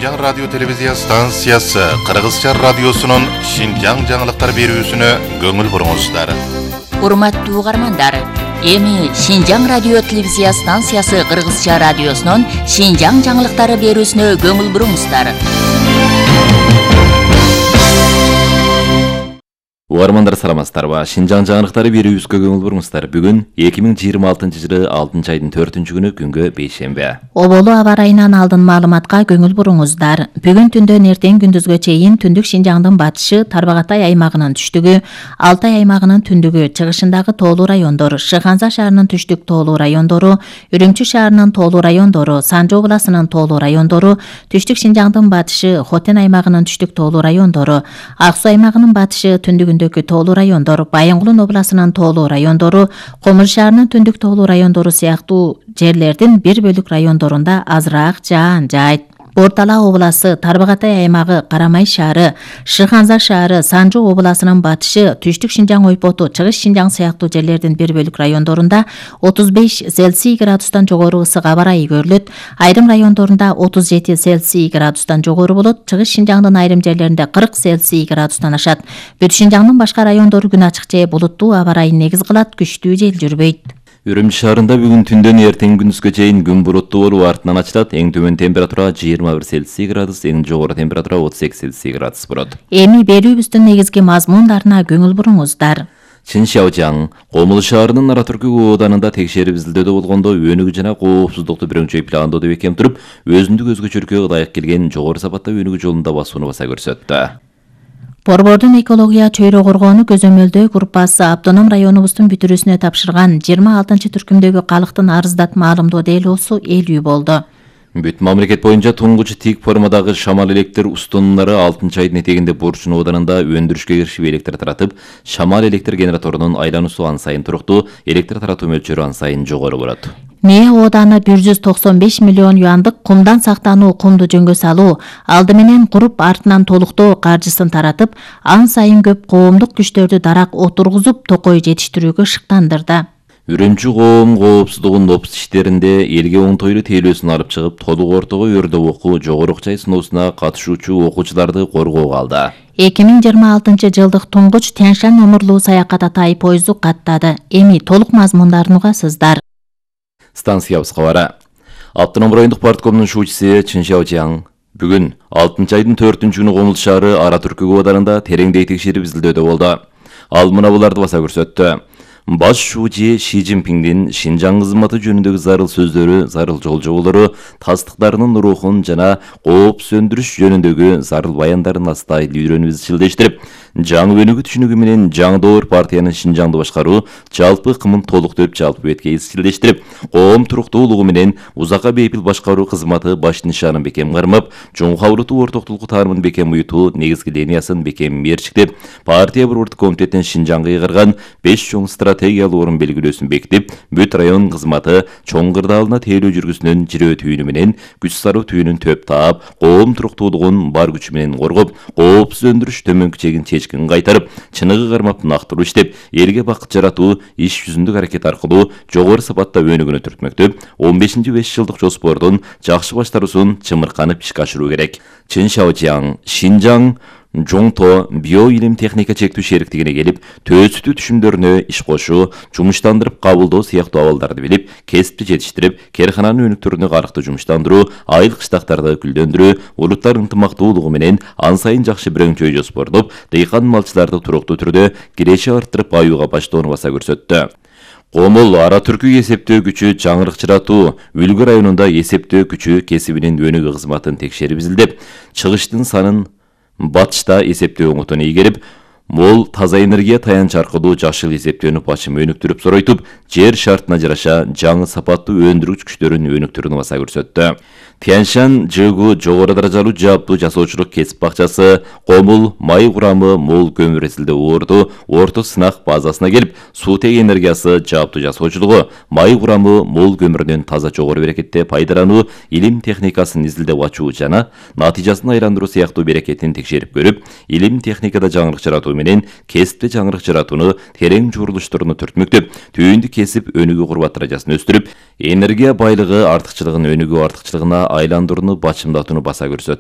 Шинжаң радио телевизия станциясы Кыргызча радиосунун Шинжаң жаңылыктар берүүсүнө көңүл буруңуздар. Урматтуу угармандар, эми Шинжаң радио телевизия станциясы Кыргызча радиосунун Шинжаң жаңылыктары берүүсүнө көңүл буруңуздар. Угармандар саламатсыздарбы? Шинжаң жаңылыктары берүүбүзгө көңүл буруңуздар. Бүгүн 2026-жылы 6-айдын 4-күнү күнгө бейшемби. Оболу аба ырайынан алдын маалыматка көңүл буруңуздар. Бүгүн түндөн эртең күндүзгө чейин түндүк Шинжаңдын батышы, Тарбагатай аймагынын түштүгү, Алтай аймагынын түндүгү, чыгышындагы тоолуу райондор, Шыханза шаарынын түштүк тоолуу райондору, Үрүмчү шаарынын тоолуу райондору, Санжы областынын тоолуу райондору, түштүк Шинжаңдын батышы, Хотен аймагынын түштүк тоолуу райондору, Ак Суу аймагынын батышы, түндүгүндөгү тоолуу райондор, Байынгулун областынын тоолуу райондору, Комур шаарынын түндүк тоолуу райондору сыяктуу жерлердин бир бөлүк райондорунда азыраак жаан жаайт. Бортала обласы, Тарбагатай аймагы, Карамай шаары, Шыханза шаары, Санжы областынын батышы, түштүк Шинжаң ойпоту, Чыгыш Шинжаң сыяктуу жерлердин бир бөлүк райондорунда 35 Цельсий градустан жогору ысык аба ырайы көрүлөт. Айрым райондорунда 37 Цельсий градустан жогору болот. Чыгыш Шинжаңдын айрым жерлеринде 40 Цельсий градустан ашат. Бүт Шинжаңдын башка райондору күн ачык же булуттуу аба ырайын негиз кылат, күчтүү жел жүрбөйт. Үрүмчү шаарында бүгүн түндөн эртең күндүзгө чейин күн буруттуу болуп артынан ачылат. Эң төмөн температура 21 Цельсий градус, эң жогору температура 38 Цельсий градус болот. Эми берүүбүздүн негизги мазмундарына көңүл буруңуздар. Чыншаожаң, Комул шаарынын Ара Түркү ооданында текшерип изилдөөдө болгондо өнүгүү жана коопсуздукту бирөңчөй пландоодо бекем туруп, өзүндүк өзгөчөлүккө ылайык келген жогору сапатта өнүгүү жолунда басууну баса көрсөттү. Борбордун экология чөйрө коргоону көзөмөлдөө группасы автоном районубуздун бүтүрүүсүнө тапшырган 26-түркүмдөгү калктын арыздат маалымдоо делоосу эл үй болду. Бүт мамлекет боюнча туңгуч тик формадагы шамал электр устунуулары 6-айдын этегинде Бурчун ооданында өндүрүшкө киришип электр таратып, шамал электр генераторунун айлануусу ан сайын туруктуу, электр таратуу мөлчөрү ан сайын жогору болот. Мээ ооданы 195 миллион юандык кумдан сактануу кумду жөнгө салуу, алды менен куруп артынан толуктоо каржысын таратып, ан сайын көп коомдук күчтөрдү дарак отургузуп, токой жетиштирүүгө шыктандырды. Үрүмчү коом коопсуздугунун опус иштеринде элге оңтойлуу тейлөөсүн алып чыгып, толук ортого өрдөп окуу, жогору окчай сыноосуна катышуучу окуучуларды коргоого алды. 2026 жылдык туңгуч Тянь-Шань номурлуу саякат атай поезду каттады. Эми толук мазмундарын угасыздар. Станциябыз кабары. Автоном райондук парткомдун шуучусу Чыншаожаң бүгүн 6-айдын 4-күнү Комул шаары Ара Түркү ооданында тереңдей текшерип изилдөөдө болду. Ал мына буларды баса көрсөттү. Баш шуучу Ши Цзиньпиңдин Шинжаң кызматы жөнүндөгү зарыл сөздөрү, зарыл жолжоболору, тастыктарынын рухун жана кооп сөндүрүш жөнүндөгү зарыл баяндарын астай үйрөнүп изчилдештирип, жаңы өнүгүү түшүнүгү менен жаңдоор партиянын Шинжаңды башкаруу жалпы кымын толуктоп жалпы бетке изчилдештирип, коом туруктуулугу менен узакка бейпил башкаруу кызматы баш нишанын бекем кармап, чоң кабылдуу ортоктулук таарымын бекем уютуу негизги линиясын бекем мерчиктеп, партия борбордук комитетинин Шинжаңга ыйгарган 5 чоң стратегиялуу орун белгилөөсүн бекитип, бүт район кызматы чоң кырдаалына тейлөө жүргүсүнүн жирөө түйүнү менен күч сароо түйүнүн төп таап, коом туруктуулугун бар күчү менен коргоп, коопсуз өндүрүш төмөнкү чегин чечкин кайтарып, чыныгы кармап нактылуу иштеп, элге бакыт жаратуу иш жүзүндүк аракет аркылуу жогору сапатта өнүгүүнү түртмөктөп, 15-5 жылдык жоспордун жакшы баштаруусун чымырканып ишке ашыруу керек. Чыншаожаң, Шинжаң Жоңто био илим техника чектүү шериктигине келип, төөсүтүү түшүмдөрүнө иш кошуу, жумуштандырып кабылдоо сыяктуу абалдарды билип, кесипти жетиштирип, керкананын өнүктөрүнө карыкты жумуштандыруу, айыл кыштактарды гүлдөндүрүү, улуттар ынтымактуулугу менен ан сайын жакшы бирөңчөй жоспордоп, дыйкан малчыларды туруктуу түрдө киреши арттырып аюуга баштоону баса көрсөттү. Комул Ара Түркү эсептөө күчү жаңырыкчыратуу, Үлгү районунда эсептөө күчү кесибинин өнүгүү кызматын текшерип изилдеп, чыгыштын санын батышта эсептөө оңотуна ийгерип, мол таза энергия таянч аркылуу жашыл эсептөөнү бачым өнүктүрүп соройтуп, жер шартына жараша жаңы сапаттуу өндүргүч күчтөрүн өнүктүрүүнү баса көрсөттү. Тянь-Шань ЖГУ жогору даражалуу жааптуу жасоочулук кесип бакчасы Комул май курамы мол көмүр эсилде оорду орто сынак базасына келип, суутек энергиясы жааптуу жасоочулугу, май курамы мол көмүрүнөн таза жогору берекетте пайдалануу, илим техникасын изилдеп ачуу жана натыйжасын айландыруу сыяктуу берекетин текшерип көрүп, илим техникада жаңырык жаратуу менен кесипте жаңырык жаратууну терең журулуштуруну түртмөктөп, түйүндү кесип өнүгүү курбат даражасын өстүрүп, энергия байлыгы артыкчылыгын өнүгүү артыкчылыгына айландырууну бачымдатууну баса көрсөттү.